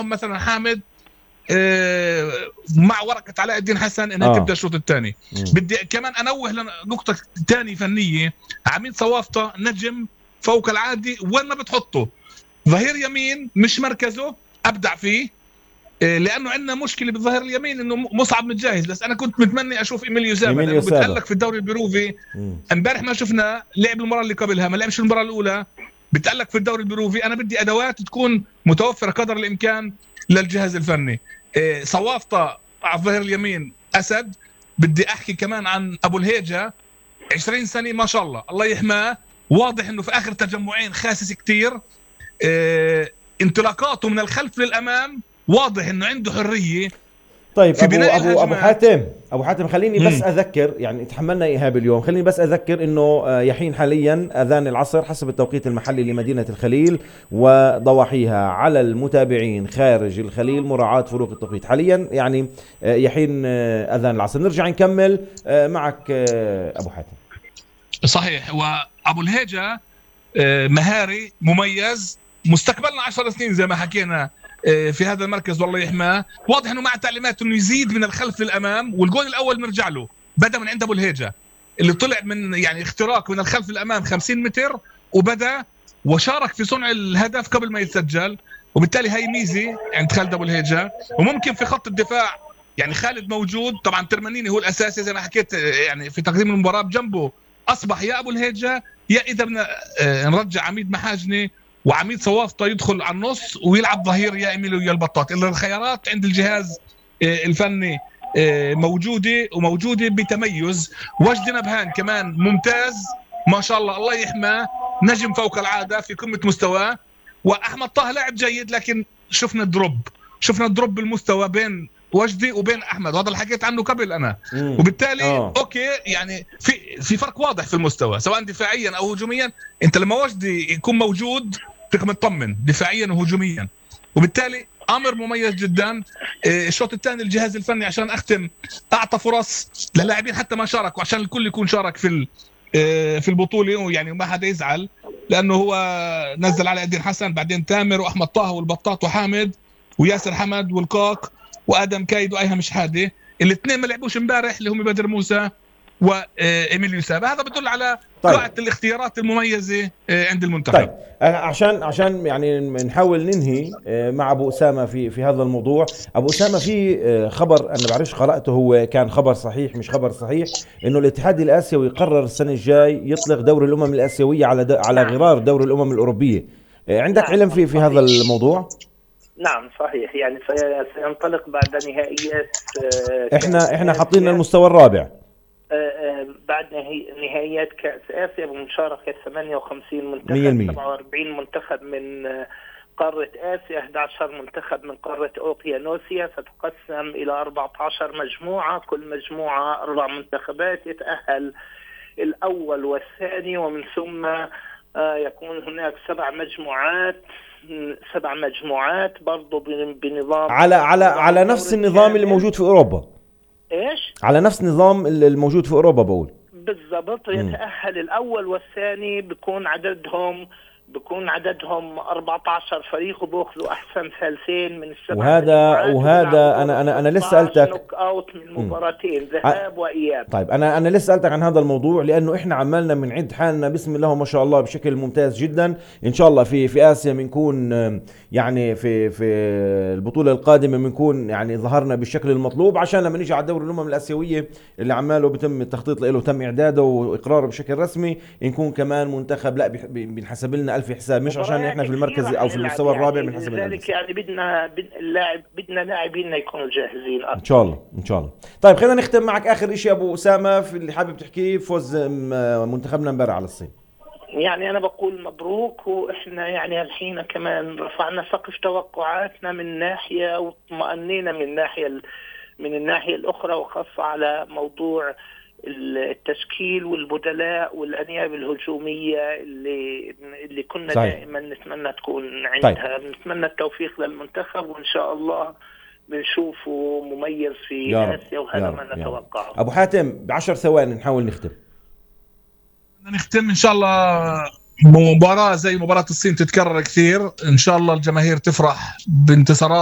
معهم مثلا حامد مع ورقة علاء الدين حسن انها تبدا الشوط الثاني. بدي كمان انوه لنقطة ثانية فنية. عميد صوافطة نجم فوق العادي، وين ما بتحطه ظهير يمين مش مركزه ابدع فيه، لانه عندنا مشكله بالظهير اليمين انه مصعب متجاهز. بس انا كنت متمني اشوف ايميليو سابا لانه بتألق في الدوري البيروفي. امبارح ما شفنا لعب المباراه اللي قبلها، ما لعبش المباراه الاولى، بتألق في الدوري البيروفي. انا بدي ادوات تكون متوفره قدر الامكان للجهاز الفني. صوافطة على الظهير اليمين اسد. بدي احكي كمان عن ابو الهيجة، 20 سنه ما شاء الله، الله يحماه. واضح انه في اخر تجمعين خاسس كتير. انطلاقاته من الخلف للامام واضح انه عنده حريه. طيب ابو حاتم خليني بس اذكر، يعني تحملنا ايهاب اليوم، خليني بس اذكر انه يحين حاليا اذان العصر حسب التوقيت المحلي لمدينه الخليل وضواحيها. على المتابعين خارج الخليل مراعاه فروق التوقيت حاليا، يعني يحين اذان العصر. نرجع نكمل معك ابو حاتم. صحيح. وابو الهيجة مهاري مميز، مستقبلنا 10 سنين زي ما حكينا في هذا المركز، والله يحماه. واضح انه مع تعليمات انه يزيد من الخلف للامام. والجول الاول نرجع له بدا من عند ابو الهيجة اللي طلع من يعني اختراق من الخلف للامام 50 متر وبدا وشارك في صنع الهدف قبل ما يتسجل. وبالتالي هاي ميزه عند خالد ابو الهيجة. وممكن في خط الدفاع يعني خالد موجود طبعا، ترمانيني هو الاساسي زي ما حكيت يعني في تقديم المباراه. بجنبه اصبح يا ابو الهيجة يا اذا بدنا نرجع عميد محاجني وعميد صوافطة يدخل على النص ويلعب ظهير يا ايميليو يا البطاط. الا الخيارات عند الجهاز الفني موجوده بتميز. وجدي نبهان كمان ممتاز ما شاء الله، الله يحماه، نجم فوق العاده في قمه مستواه. واحمد طه لاعب جيد، لكن شفنا دروب بالمستوى بين وجدي وبين احمد، وهذا اللي حكيت عنه قبل انا. وبالتالي اوكي يعني في فرق واضح في المستوى سواء دفاعيا او هجوميا. انت لما وجدي يكون موجود فيك مطمن دفاعيا وهجوميا. وبالتالي امر مميز جدا. الشوط الثاني الجهاز الفني عشان اختم اعطى فرص للاعبين حتى ما شاركوا عشان الكل يكون شارك في البطوله، يعني ما حدا يزعل، لانه هو نزل على الدين حسن بعدين تامر واحمد طه والبطاط وحامد وياسر حمد والقاق وادم كايد وايهم شحاده. الاثنين ما لعبوش امبارح اللي هم بدر موسى وايميليو سابا. هذا بدل على قاعده الاختيارات المميزه عند المنتخب. طيب عشان يعني نحاول ننهي مع ابو اسامه في هذا الموضوع. ابو اسامه في خبر انا بعرفش قراته، هو كان خبر صحيح مش خبر صحيح، انه الاتحاد الاسيوي قرر السنه الجاي يطلق دوري الامم الاسيويه على غرار دوري الامم الاوروبيه. عندك علم في هذا الموضوع؟ نعم صحيح، يعني سينطلق بعد نهائيات. احنا حاطين المستوى الرابع بعد نهائيات كأس آسيا بمشاركة 58 منتخب، 47 منتخب من قارة آسيا، 11 منتخب من قارة أوقيانوسيا. ستقسم إلى 14 مجموعة، كل مجموعة 4 منتخبات. يتأهل الأول والثاني، ومن ثم يكون هناك 7 مجموعات برضو بنظام على نفس النظام اللي موجود في أوروبا. ايش؟ على نفس النظام الموجود في اوروبا بقول بالضبط. يتأهل الاول والثاني، بكون عددهم 14 فريق، وبياخذوا احسن ثالثين من ال7. وهذا انا لسه سالتك نوك اوت من مباراتين ذهاب واياب. طيب انا لسه سالتك عن هذا الموضوع لانه احنا عمالنا بنعد حالنا بسم الله ما شاء الله بشكل ممتاز جدا. ان شاء الله في اسيا بنكون يعني في البطوله القادمه بنكون يعني ظهرنا بالشكل المطلوب، عشان لما نيجي على دوري الامم الاسيويه اللي عماله بتم التخطيط له وتم اعداده واقراره بشكل رسمي، نكون كمان منتخب لا بنحسب لنا ألف حساب، مش عشان احنا في المركز او في المستوى الرابع بنحسب لنا. لذلك يعني بدنا لاعبين يكونوا جاهزين ان شاء الله. طيب خلينا نختم معك اخر شيء ابو اسامه في اللي حابب تحكيه، فوز منتخبنا امبارح على الصين. يعني أنا بقول مبروك، وإحنا يعني الحين كمان رفعنا سقف توقعاتنا من ناحية وطمأنينا من الناحية الأخرى، وخاصة على موضوع التشكيل والبدلاء والأنياب الهجومية اللي كنا صحيح. دائما نتمنى تكون عندها. طيب. نتمنى التوفيق للمنتخب، وإن شاء الله بنشوفه مميز في آسيا، وهذا ما نتوقعه. أبو حاتم ب10 ثواني نحاول نختم إن شاء الله. مباراة زي مباراة الصين تتكرر كثير إن شاء الله، الجماهير تفرح بانتصارات